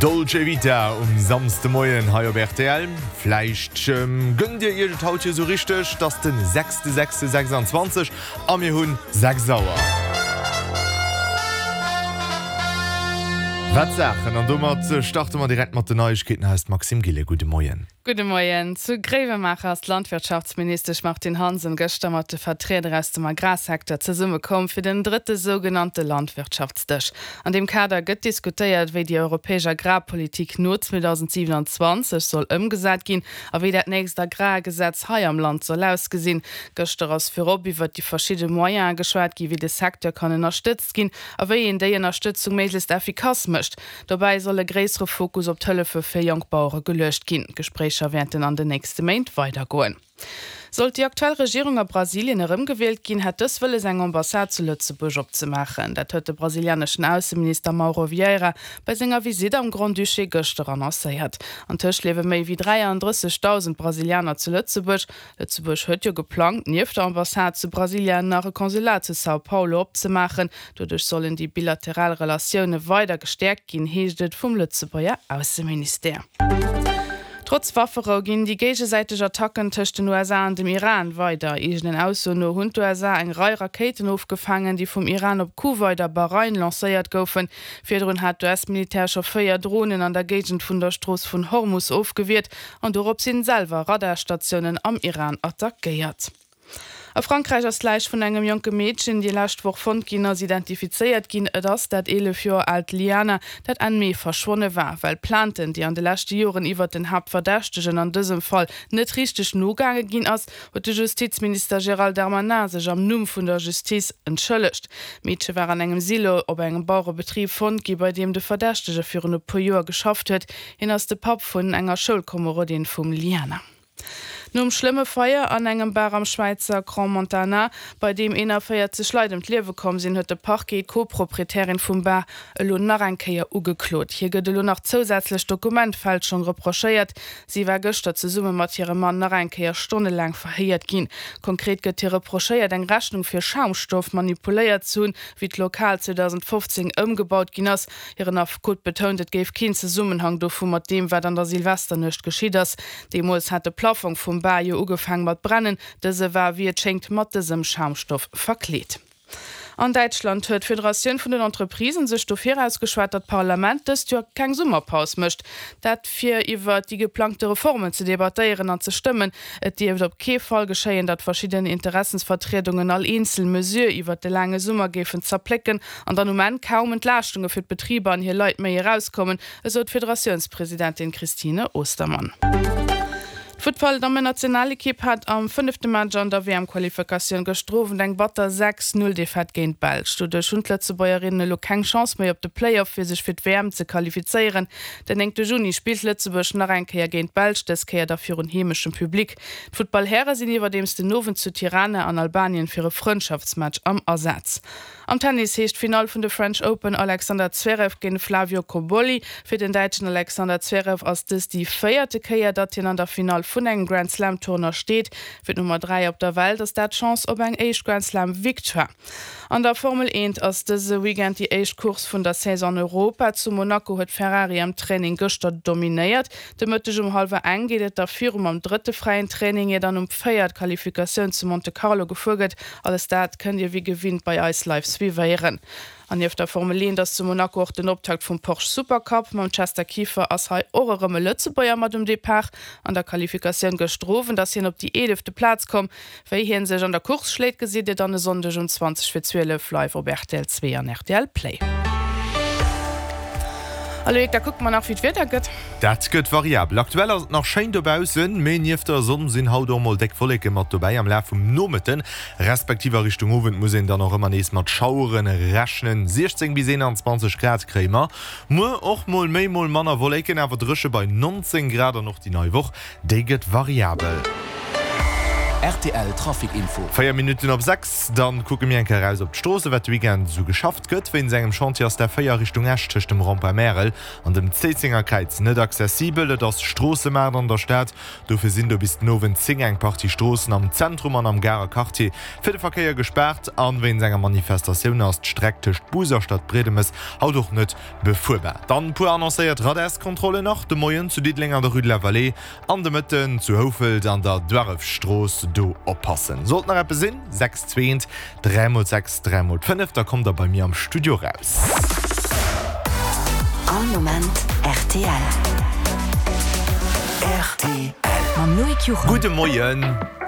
Dolce Vita um Samsdemoien hei op rtl. Vläicht gënnt dir iech et haut jo sou richteg, 't ass den 6.6.26 a mir hunn 6 Auer. Wat Saachen! An domat starte mer direkt mat den Neiegkeeten. Hei ass d'Maxime Gillen. Gudde Moien. Gudde Moien. Zu Gréiwemaacher ass d'Landwirtschaftsministesch Martine Hansen gëschter mat de Vertrieder aus dem Agrarsecteur zesummekomm fir den drëtte sougenannte Landwirtschaftsdësch. An deem Kader gëtt diskutéiert, wéi déi europäesch Agrarpolitik no 2027 soll ëmgesat ginn a wéi dat nächst Agrargesetz hei am Land soll ausgesinn. Gëschter ass virop iwwert déi verschidde Moyene geschwat ginn, wéi de Secteur kann ënnerstëtzt ginn a wéi een déi Ënnerstëtzung méiglechst effikass mécht. Dobäi soll e gréissere Fokus op d'Hëllefe fir jonk Bauere geluecht ginn. D'Gespréicher wäerten an den nächste Méint weidergoen. Sollt déi aktuell Regierung a Brasilien erëmgewielt ginn, hätt dës wëlles eng Ambassade zu Lëtzebuerg opzemaachen. Dat huet de brasilianeschen Ausseminister Mauro Vieira bei senger Visitt am Grand-Duché gëschter annoncéiert. Antëscht liewe méi wéi 33.000 Brasilianer zu Lëtzebuerg. Lëtzebuerg huet jo geplangt, nieft der Ambassade zu Brasilia nach e Consulat zu São Paulo opzemaachen. Doduerch sollen déi bilateral Relatioune weider gestäerkt ginn, heescht et vum Lëtzebuerger Ausseministère. Trotz Wafferou ginn déi géigesäiteg Attacken tëscht den USA an dem Iran weider. Eegenen Aussoen no hunn d'USA eng Rei Rakéiten ofgefaangen, déi vum Iran op Kuwait a Bahrain lancéiert goufen. Virdrun hat d'US-Militär scho 4 Dronen an der Géigend vun der Strooss vun Hormus ofgewiert. An dorop sinn selwer Radarstatiounen am Iran attackéiert. A Frankräich ass d'Läich vun engem jonke Meedchen, déi lescht Woch fonnt ginn ass, identifizéiert ginn. Et ass dat 11 Joer aalt Liana, dat Enn Mee verschwonne war. Well Plainten, déi an de leschte Joren iwwert den Haaptverdächtegen an dësem Fall net richteg nogaange ginn ass, huet de Justizminister Gérald Darmanin sech am Numm vun der Justiz entschëllegt. D'Meedche war an engem Silo op engem Bauerebetrib fonnt gi, bei deem de Verdächtege virun e puer Joer geschafft huet. Hien ass de Papp vun enger Schoulkomerodin vum Liana. Nom schlëmme Feier an engem Bar am Schwäizer Crans-Montana, bei deem 41 Leit ëm d'Liewe komm sinn, huet de Parquet d'Co-Proprietärin vum Bar elo nach eng Kéier ugeklot. Hir gëtt elo nach zousätzlech Dokumentfälschung reprochéiert. Si war gëschter zesumme mat hirem Mann nach eng Kéier stonnelaang verhéiert ginn. Konkret gëtt hir reprochéiert, eng Rechnung fir Schaumstoff manipuléiert ze hunn, wéi d'Lokal 2015 ëmgebaut ginn ass. Hiren Affekot betount, et géif keen Zesummenhang dovu mat deem, wat an der Silvesternuecht geschitt ass. Deemools hat de Plaffong vum Bar jo ugefaang mat brennen. Dëse war, wéi et schéngt, mat dësem Schaumstoff verkleet. An Däitschland huet d'Federatioun vun den Entreprisen sech dofir ausgeschwat, datt d'Parlament dëst Joer keng Summerpaus mécht. Dat fir iwwer déi geplangte Reformen ze debattéieren an ze stëmmen. Et dierft op kee Fall geschéien, datt verschidden Interessensvertriedungen all eenzel Mesure iwwer de laange Summer géifen zerplécken An dann um Enn kaum Entlaaschtunge fir d'Betriber an hir Leit méi erauskommen, esou d'Federatiounspresidentin Christine Ostermann. D'Futtball-Dammennationalekipp hat am fënnefte Match an der WM-Qualifikatioun gëschter Owend eng batter 6, 0 Defaite géint d'Belsch. Doduerch hunn d'Lëtzebuergerinnen elo keng Chance méi op de Play-Off fir sech fir d'WM ze qualifizéieren. Den néngte Juni spillt Lëtzebuerg nach eng Kéier géint d'Belsch, dës Kéier da virun heemeschem Public. D'Futtballhäre sinn iwwerdeems den Owend zu Tirana an Albanien fir e Frëndschaftsmatch am Asaz. Am Tennis heescht d'Finall vun de French Open Alexander Zverev géint Flavio Cobolli. Fir den Däitschen Alexander Zverev ass dës déi véierte Kéier, datt hien an der Finall vun engem Grand Slam Tournoi steet. Fir d'Nummer 3 op der Welt ass dat d'Chance op eng éischt Grand Slam Victoire. An der Formel 1 ass dëse Weekend déi éischt Course vun der Saison an Europa. Zu Monaco huet Ferrari am Training gëschter dominéiert. De Mëtteg um hallwer eng geet et da viru mam drëtte fräien Training, ier dann um 4 d'Qualifikatioun zu Monte Carlo gefuer gëtt. Alles dat kënnt Dir wéi gewinnt bei eis live suivéieren. An nieft der Formel 1 ass zu Monaco och den Optakt vum Porsche Supercup. Mam Chester Kieffer ass hei och erëm e Lëtzebuerger mat um Depart. An der Qualifikatioun gëschter Owend ass hien op déi eelefte Plaz komm. Wéi hien sech an der Course schléit gesitt Dir dann e Sonndeg um 20 fir 12 live op rtl 2 an rtl Play. A Loïc, da kucke mer nach wéi d'Wieder gëtt. Dat gëtt variabel. Aktuell ass et nach schéin dobaussen, mee nieft der Sonn sinn haut och mol déck Wolleke mat dobäi. Am Laf vum Nomëtten, respektiv a Richtung Owend muss een dann och ëmmer nees mat Schauere rechnen. 16 bis 21 Grad kréie mer muer, och mol méi, mol manner Wolleken, awer dréche bei 19 Grad. An och déi nei Woch Déi gëtt variabel. Rtl Trafic Info. 4 Minutten op 6, dann kucke mir eng Kéier eraus op d'Stroosse wat de Weekend esou geschafft gëtt. Wéinst engem Chantier ass d'A4 Richtung Esch tëscht dem Rond-point Märel an dem Zéissenger Kräiz net accessibel. Et ass Stroossemaart an der Stad, dofir sinn do bis den Owend 10 eng Partie Stroossen am Zentrum an am Garer Quartier fir de Verkéier gespaart. An wéinst enger Manifestatioun ass d'Streck tëscht Bus a Stadbriedemes haut och net befuerbar. Dann e puer annoncéiert Radarskontrollen nach de Moien zu Diddeleng an der Rue de la Vallée an de Mëtten zu Houfelt an der Duarrefstrooss. Do oppassen. Sollt nach eppes sinn, 6 2 3 mol 6 3 mol 5, da kommt der bei mir am Studio raus. All Moment rtl. Rtl. Mam Loïc Juchem. Gudde Moien.